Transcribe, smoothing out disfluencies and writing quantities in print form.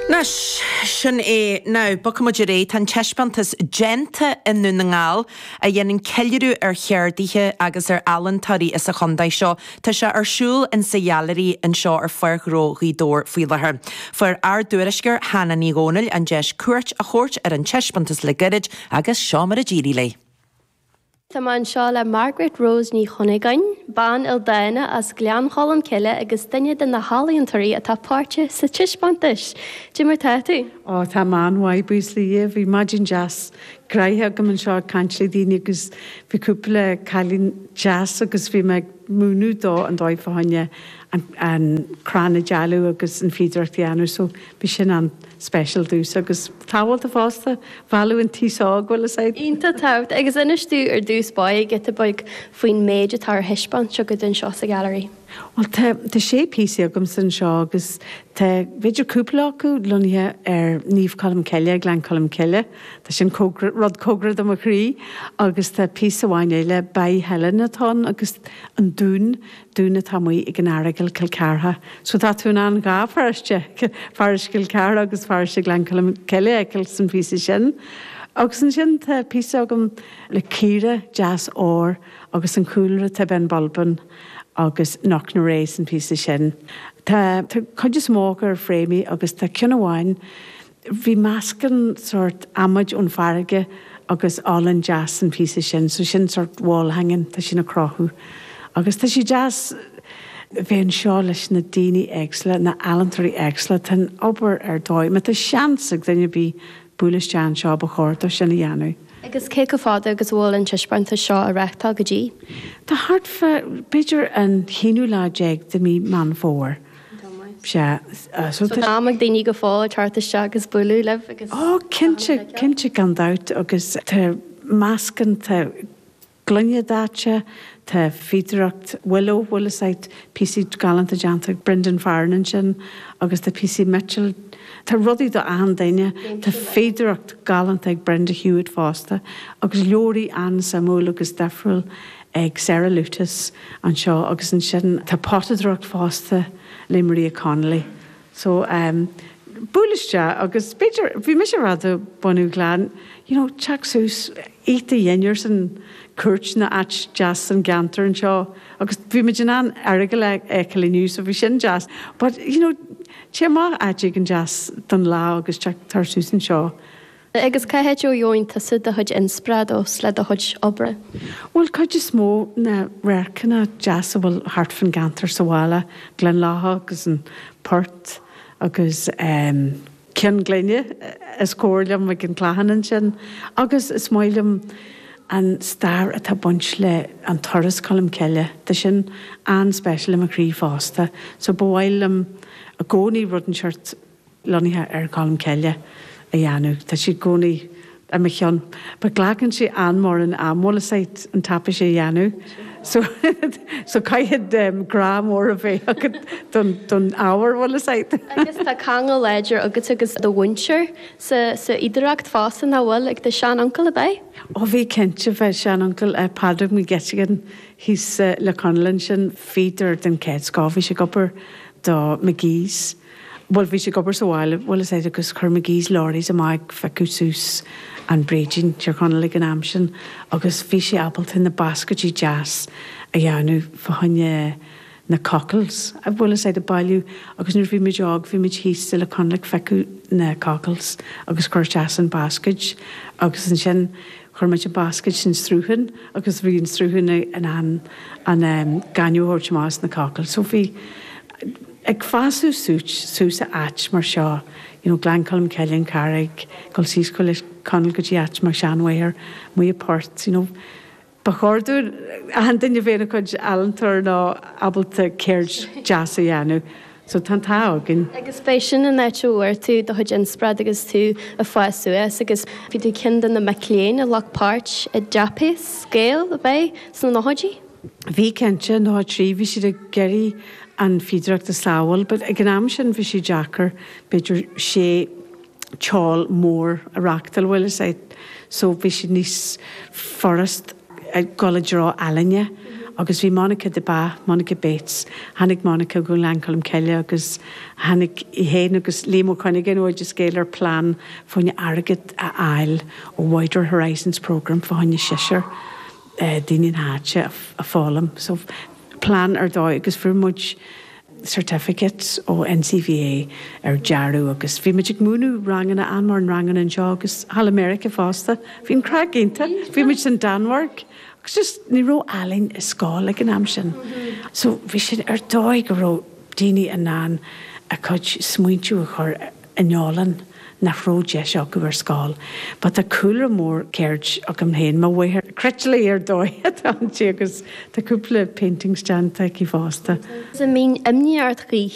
Anois, sin é. Now, bogfaidh muid ar aghaidh. Tá an taispeántas Déanta i nDún na nGall, a dhéanann ceiliúradh ar cheardaithe agus ar ealaíontóirí as an chontae seo. Tá sé ar siúl in sa Ghailearaí anseo ar Pháirc Ghnó Ghaoth Dobhair faoi láthair. Fuair ár dtuairisceoir Hannah Ní Dhomhnaill an deis cuairt a thabhairt ar an taispeántas le gairid agus seo mar a d'éirigh léi. Tá mé anseo le Margaret Rose Ní Chuinneagáin, bean ildánach as Gleann Cholm Cille agus duine de na healaíontóirí atá páirteach sa taispeántas. Cad é mar tá tú? Ó, tá mé an-mhaith, buíochas le Dia. Bhí maidin deas gnoitheach agam anseo ag caint le daoine agus bhí cúpla cailín deas agus bhí mé ag múineadh dó an dóigh fá choinne an crann a dealú agus an fíodóireacht a dhéanamh so bhí sin an speisialta domhsa agus tábhachtach fosta, mhealladh an t-aos óg, bhfuil fhios a'd. Iontach tábhachtach. Agus inis domh ar dtús báire giota beag faoin méid atá ar thaispeáint agat anseo sa Ghailearaí. Bhuel tá, tá sé píosaí agamsa anseo agus tá b'fhéidir cúpla acu lonnaithe ar Naomh Colm Cille, Gleann Cholm Cille, tá sin cóngarach, rud cóngarach do mo chroí agus tá píosa amháin eile, Baí Helen atá ann agus an dún, dún atá amuigh ag an Earagail, Cill Chartha. So tá tú in ann dhá pharóiste, paróiste Chill Chartha agus paróiste Ghleann Cholm Cille a fheiceáil san phíosa sin. Agus ansin tá píosa agam le caora deas óir agus an cúlra tá Binn Bulbin agus Knocknarea san phíosa sin. Tá cuid is mó acu ar fréamaí agus tá ceann amháin Bhí meascán sórt adhmaid ón farraige agus olann deas san phíosa sin, so sin sórt wall hanging, tá sin ag crochadh. Agus tá sé deas bheith anseo leis na daoine éagsúla, na ealaíontóirí éagsúla, tá an obair ar dóigh. Má tá seans ag duine ar bith bualadh isteach anseo ba chóir dó sin a dhéanamh. Agus cé chomh fada agus a bhfuil an taispeántas seo á reáchtáil go dtí? Tá thart fá, b'fhéidir an haonú lá déag de mí Meán Fómhair. Sea, so tá. Am ag daoine go fóill teacht isteach agus bualadh libh agus. Ó, cinnte, cinnte gan dabht agus tá meascán, tá gloine daite, tá fíodóireacht willow, bhfuil fhios a'd, píosaí galánta déanta ag Brendan Farren ansin agus tá píosaí miotail, tá rudaí do achan duine, tá fíodóireacht galánta ag Brenda Hewitt fosta agus leabhraí an-suimiúil agus difriúil ag Sarah Lutis anseo agus ansin tá potadóireacht fosta le Maria Connolly. So ehm buail isteach agus b'fhéidir, bhí mise ag rá do bunadh Ghleann, you know teacht suas, ith do dhinnéar san Cúirt nó áit deas san gceantar anseo agus bhí muid in ann Earagail a fheiceáil inniu so bhí sin deas but you know téigh amach áit éigin deas don lá agus teacht tar suas anseo. Agus cá háit a bhfaigheann tusa do chuid inspioráid ós le do chuid oibre? Bhuel, cuid is mó na radharcanna deas a bhfuil thart fán gceantar sa bhaile, Gleann Locha agus an Port agus Ceann Glinne is cóir liom ag an Clachán ansin. Agus is maith liom an stair atá baint le an turas Colm Cille, tá sin an-speisial i mo chroí fosta. So ba mhaith liom i gcónaí rud inteacht lonnaithe ar Cholm Cille a dhéanamh. Tá sé i gcónaí i mo cheann. But glacann sé an-mórán am, bhfuil fhios a'd, an taipéis a dhéanamh. So, so caithfidh grá mór a bheith agat don, don ábhar, bhfuil fhios a'd. Agus tá ceangal láidir agat agus do mhuintir sa, sa fhíodóireacht fosta, nach bhfuil? Ag do shean-uncail, ab ea? Ó bhí cinnte, bhí sean-uncail, Pádraig McGettigan thíos sa Leac Chonaill ansin, fíodóir den chéad scoth, bhí sé ag obair do McGee's. Bhuel, bhí sé ag obair sa bhaile, bhfuil fhios a'd, agus chuir McGee's lorries amach ag phiocadh suas an bréidín, Tír Chonaill ag an am sin, agus bhí sé ábalta na bascaidí deas a dhéanamh fá choinne na cockles, bhfuil fhios a'd, ag bailiú, agus nuair a bhí muid óg, bhí muid thíos sa Leitir Ceanainn ag phiocadh na cockles agus cur isteach san bascaid agus ansin chuir muid an bascaid san sruthán agus bhí an sruthán in ann an gaineamh a thabhairt amach as na cockles. So bhí. Ag fásadh suas i áit mar seo, you know, Gleann Cholm Cille, An Charraig, dul síos go Leitir Ceanainn go dtí áit mar Seanmhaothair, Muigh Port, you know, ba chóir dúinn, achan duine a bheith ina chuid ealaíontóir nó ábalta ceird deas a dhéanamh. So tá an t-ádh againn. Agus b'é sin an áit a bhfuair tú do chuid inspioráid agus tú ag fás suas agus bhí tú ceann de na mic léinn a ghlac páirt i dTaipéis Gael, ab ea, sna nóchaidí? Bhí cinnte, 93, bhí siad ag iarraidh an fhíodóireacht a sábháil but ag an am sin bhí sé deacair b'fhéidir sé ceol mór a reachtáil bhfuil fhios a'd so bhí siad níos furast ag dul i dtreo ealaíne. Agus bhí Monica de Bá, Monica Bates, tháinig Monica go Gleann Cholm Cille agus tháinig í féin agus Liam Ó Cuinneagáin ó Oideas Gael ar plean fá choinne airgead a fháil ó Wider Horizons Programme fá choinne seisear daoine na háite a foghlaim. So plean ar dóigh agus fuair muid certificates ó NCVA ar dearadh agus bhí muid ag múineadh ranganna, an-mhórán ranganna anseo agus thall i Meiriceá fosta. Bhí an craic iontach. Bhí muid san Danmhairg agus just ní raibh ealaín i scoil ag an am sin. So bhí sin ar dóigh go raibh daoine in ann a cuid smaointiú a chur in ealaín nach raibh deis acu ar scoil. But tá cúlra mór ceird agam féin, mo mháthair cruitealaí ar dóigh atá inti agus tá cúpla paintings déanta aici fosta. An mbíonn imní ort choíche?